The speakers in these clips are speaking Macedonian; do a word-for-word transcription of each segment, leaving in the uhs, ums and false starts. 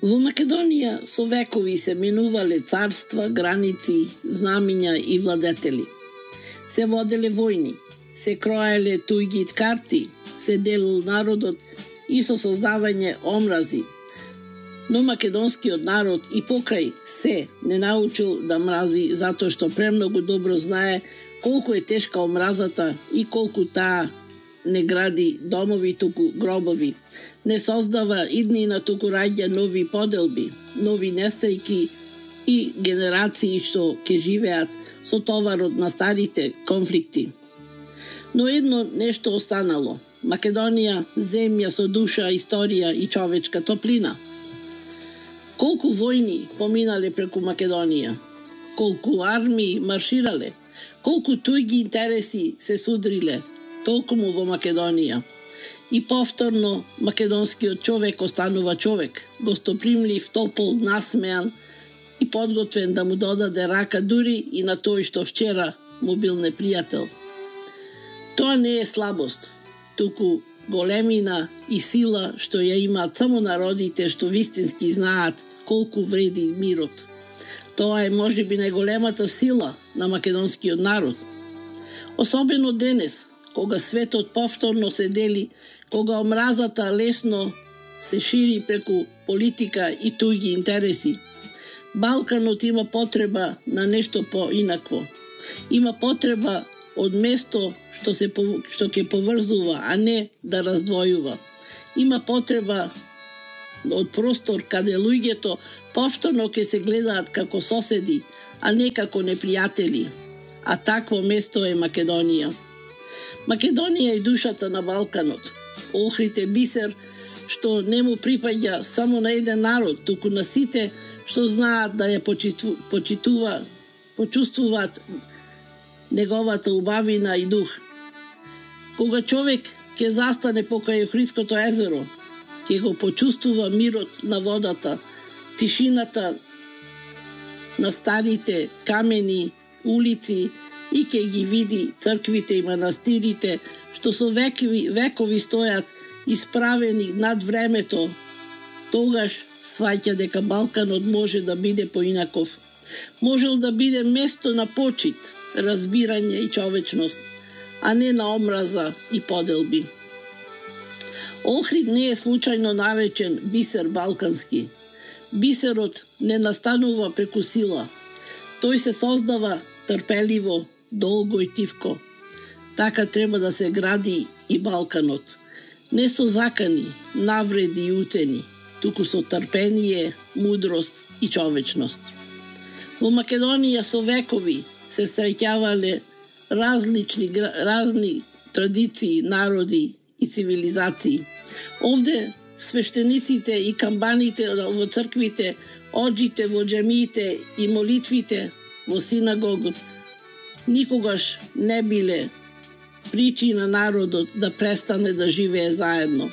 Во Македонија со векови се минувале царства, граници, знамиња и владетели. Се воделе војни, се кроеле туѓи карти, се делил народот и со создавање омрази. Но македонскиот народ и покрај се не научил да мрази затоа што премногу добро знае колку е тешка омразата и колку таа не гради домови, туку гробови. Не создава иднина, туку раѓа нови поделби, нови несреќи и генерации што ќе живеат со товарот на старите конфликти. Но едно нешто останало. Македонија, земја со душа, историја и човечка топлина. Колку војни поминале преку Македонија, колку армии марширале, колку туѓи интереси се судриле, толкому во Македонија. И повторно македонскиот човек останува човек, гостопримлив, топол, насмеан и подготвен да му додаде рака дури и на тој што вчера му бил непријател. Тоа не е слабост, туку големина и сила што ја имаат само народите што вистински знаат колку вреди мирот. Тоа е можеби најголемата сила на македонскиот народ. Особено денес, кога светот повторно се дели, кога омразата лесно се шири преку политика и туѓи интереси. Балканот има потреба на нешто поинакво. Има потреба од место што се што ќе поврзува, а не да раздвојува. Има потреба од простор каде луѓето повторно ќе се гледаат како соседи, а не како непријатели. А такво место е Македонија. Македонија е душата на Балканот. Охрид е бисер што не му припаѓа само на еден народ, туку на сите што знаат да ја почиту, почитува, почувствуваат неговата убавина и дух. Кога човек ќе застане покрај Охридското езеро, ќе го почувствува мирот на водата, тишината на старите камени улици и ќе ги види црквите и манастирите што со векови, векови стојат исправени над времето. Тогаш сваќа дека Балканот може да биде поинаков. Можел да биде место на почит, разбирање и човечност, а не на омраза и поделби. Охрид не е случајно наречен бисер балкански. Бисерот не настанува преку сила. Тој се создава трпеливо, долго и тивко. Така треба да се гради и Балканот. Не со закани, навреди и утени, туку со трпение, мудрост и човечност. Во Македонија со векови се среќавале различни разни традиции, народи и цивилизации. Овде свештениците и камбаните во црквите, оджите во џемиите и молитвите во синагогот никогаш не биле причина народот да престане да живее заедно.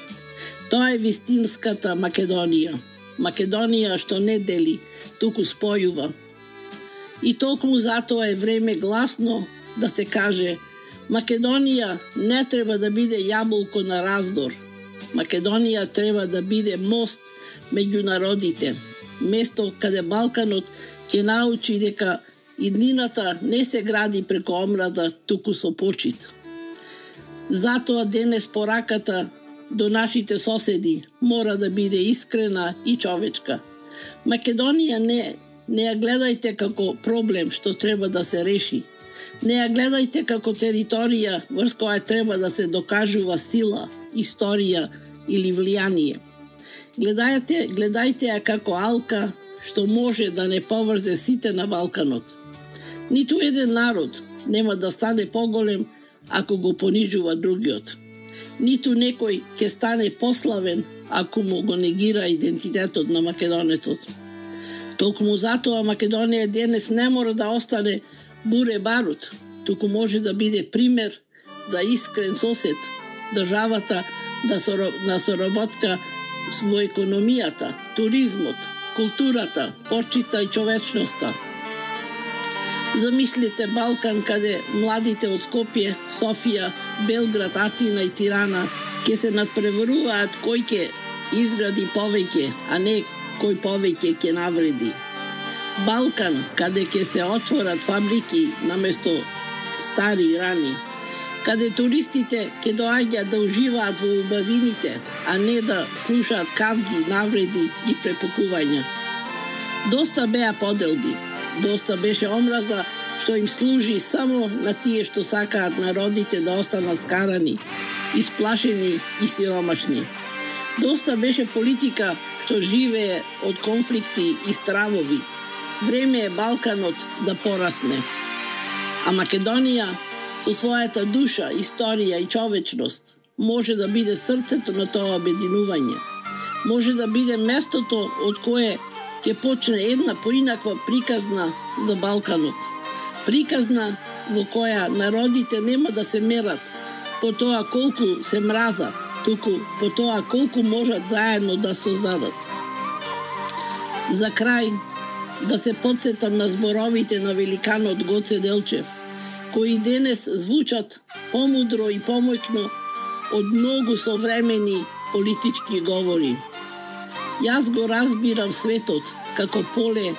Тоа е вистинската Македонија. Македонија што не дели, туку спојува. И толкому затоа е време гласно да се каже: Македонија не треба да биде јаболко на раздор. Македонија треба да биде мост меѓу народите. Место каде Балканот ќе научи дека иднината не се гради преку омраза, туку со почит. Затоа денес пораката до нашите соседи мора да биде искрена и човечка. Македонија не, не ја гледајте како проблем што треба да се реши. Не ја гледајте како територија врз која треба да се докажува сила, историја или влијание. Гледајте, гледајте ја како алка што може да не поврзе сите на Балканот. Ниту еден народ нема да стане поголем ако го понижува другиот. Ниту некој ќе стане пославен ако му го негира идентитетот на македонецот. Толкому затоа Македонија денес не мора да остане буре барут, туку може да биде пример за искрен сосед, државата да соро, на соработка во економијата, туризмот, културата, почита и човечноста. Замислите Балкан каде младите од Скопје, Софија, Белград, Атина и Тирана ќе се надпреваруваат кој ќе изгради повеќе, а не кој повеќе ќе навреди. Балкан, каде ќе се отворат фабрики наместо стари рани, каде туристите ќе доаѓаат да уживаат во убавините, а не да слушаат кавги, навреди и препукувања. Доста беа поделби, доста беше омраза што им служи само на тие што сакаат народите да останат скарани, исплашени и сиромашни. Доста беше политика што живее од конфликти и стравови. Време е Балканот да порасне. А Македонија, со својата душа, историја и човечност, може да биде срцето на тоа обединување. Може да биде местото од кое ќе почне една поинаква приказна за Балканот. Приказна во која народите нема да се мерат по тоа колку се мразат, туку по тоа колку можат заедно да создадат. За крај, да се потсетам на зборовите на великанот Гоце Делчев, кои денес звучат помудро и помоќно од многу современи политички говори. Јас го разбирам светот како поле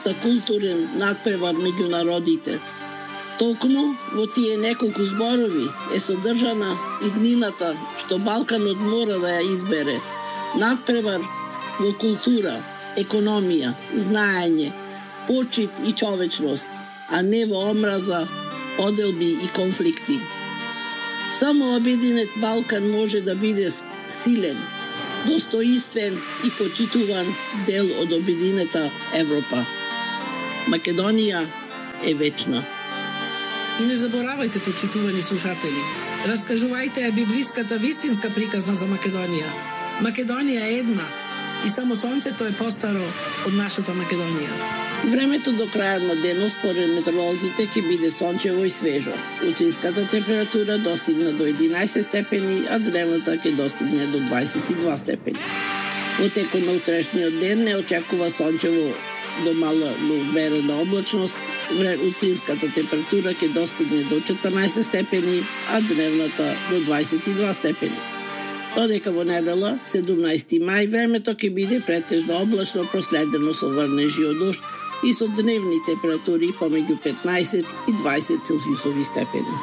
за културен надпревар меѓу народите. Токму во тие неколку зборови е содржана иднината што Балканот мора да ја избере. Надпревар во култура, економија, знаење, почит и човечност, а не во омраза, поделби и конфликти. Само обединет Балкан може да биде силен, достоинствен и почитуван дел од обединета Европа. Македонија е вечна. И не заборавајте, почитувани слушатели, раскажувајте ја библиската вистинска приказна за Македонија. Македонија е една и само сонцето е постаро од нашата Македонија. Времето до крајот на денот според метеоролозите ќе биде сончево и свежо. Утринската температура достигна до единаесет степени, а дневната ќе достигне до дваесет и два степени. Во текот на утрешниот ден не очекува сончево до мала умерена облачност. Утринската температура ќе достигне до четрнаесет степени, а дневната до дваесет и два степени. Додека во недела, седумнаесети мај, времето ќе биде претежно облачно, проследено со врнежи од дожд и со дневни температури помеѓу петнаесет и дваесет целзиусови степени.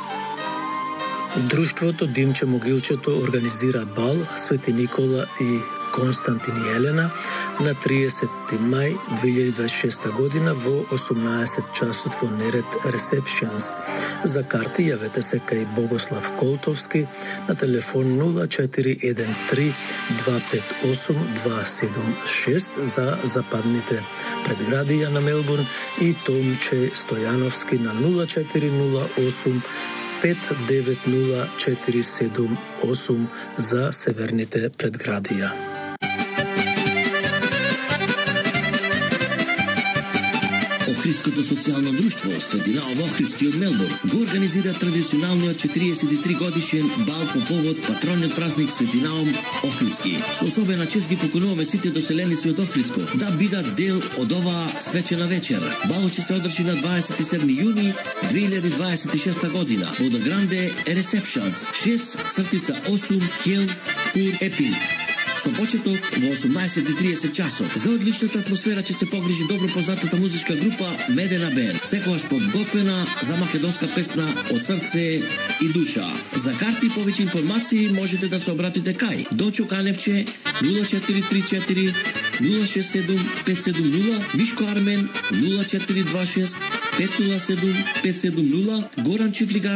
Друштвото Димче Могилчето организира бал Свети Никола и Константин и Елена на триесетти мај две илјади дваесет и шеста година во осумнаесет часот во Нерет Receptions. За карти јавете се кај Богослав Колтовски на телефон нула четири еден три два пет осум два седум шест за западните предградија на Мелбурн и Томче Стојановски на нула четири нула осум пет девет нула четири седум осум за северните предградија. Охридското социјално друштво Свети Наум Охридски од Мелбурн го организира традиционалниот четириесет и три годишен бал по повод патронниот празник Свети Наум Охридски. Со особена чест ги покануваме сите доселеници од Охридско да бидат дел од оваа свечена вечер. Балот ќе се одржи на дваесет и седми јуни две илјади дваесет и шеста година во The Grande Receptions шест осум Хил Пур Епинг. Со почеток во осумнаесет и тридесет часот. За одличната атмосфера ќе се погрижи добро познатата музичка група Медена Бенд, секогаш подготвена за македонска песна од срце и душа. За карти и повеќе информации можете да се обратите кај Дочо Каневче нула четири три четири нула шест седум пет седум нула, Мишко Армен нула четири два шест пет нула седум пет седум нула, Горан Чифлигар